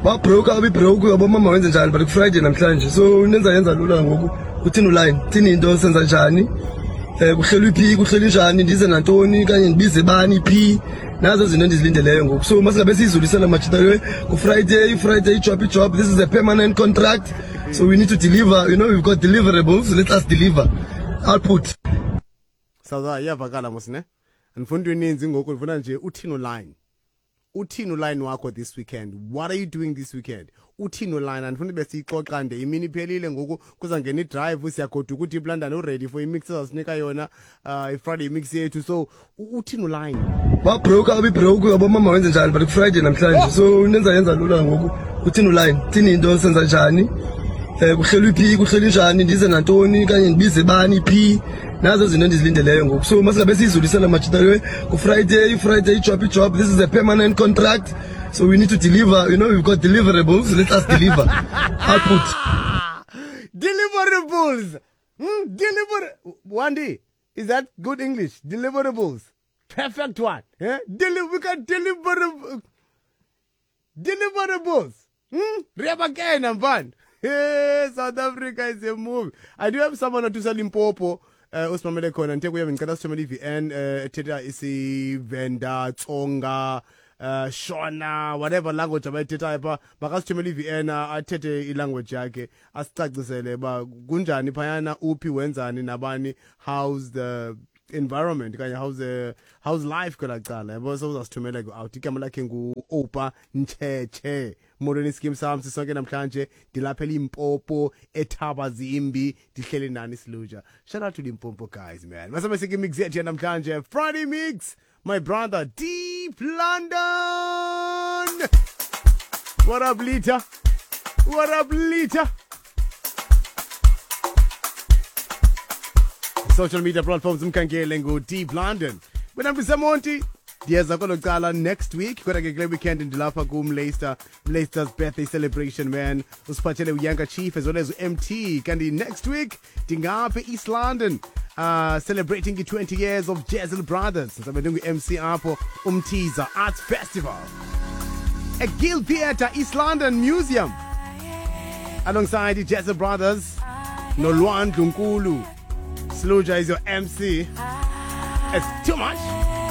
Babroke abibroke, yabo mama wenze njani, but kuFriday namhlanje, so nenza yenza lula ngoku. Uthini uline, thini into, senza njani, kuhlelwe phi, kuhlelwe njani, ndize nantoni kanye ndibize bani phi? Nazo izinto endizilindeleyo ngoku. So masingabe siyizulisela majita, kuFriday, Friday, job, job. This is a permanent contract, so we need to deliver. We've got deliverables. Let us deliver output. Sawuza, iyavakala mos ne? Andifuna into eninzi ngoku, ndifuna nje uthini uline. Uthini uline wakho this weekend? What are you doing this weekend? Uthini uline? Andifuna ibe siyixoxa nde imini iphelile ngoku, kuzangena idrive, siyagoduka. UDeep London uready for imix ezasinika yona, iFriday mix yethu. So uthini uline? Babroke abibroke, yabo mama wenze njani, but kuFriday namhlanje, so nenza yenza lula ngoku. Uthini uline, thini into, senza njani, kuhlelwe phi, kuhlelwe njani, ndize nantoni kanye ndibize bani phi? Nazo izinto endizilindeleyo ngoku. So masingabe siyizulisela majita, kuFriday, Friday, job, job. This is a permanent contract, so we need to deliver. We've got deliverables. Let us deliver output. Deliverables. Deliver. Wandi, is that good English? Deliverables. Perfect one. Eh? We got deliverables. Riabakena mfana. Hey, South Africa is a movie. I do have someone otusa Limpopo. Usimamele khona ngithe kuye ngicela sithumele i-VN ethetha isiVenda, Tsonga, Shona, whatever language abayithethayo pha, makasithumele i-VN athethe ilanguage yakhe, asicacisele ba kunjani phayana, uphi, wenzani nabani, how's the environment kanye how's life kwela cala, yabo. So uzasithumela ke out. Igama lakhe ngu-Opa Ncheche. Molweni iskim sam, sisonke namhlanje ndilapha eLimpopo, eThabazimbi, ndihleli nani siluja. Shout out to Limpopo guys, man. Masabe sike mix yethu namhlanje, Friday mix. My brother Deep London, what up, Lita? What up, Lita? Social media platforms umkhangele ngu-Deep London. Wena mbisemonti, ndiyeza kwelo cala next week, kodwa ke kule weekend ndilapha kumleicester, Leicester's birthday celebration, man. Usiphathele uYanka Chief as well as u-MT. Kanti next week ndingapha e-East London, celebrating i-20 years of Jazzle Brothers. Ndizabe ndingu-MC apho Umthiza Arts Festival at Guild Theatre, East London Museum, alongside i-Jazzle Brothers noLwandlu Nkulu. Sluja is your MC. It's too much.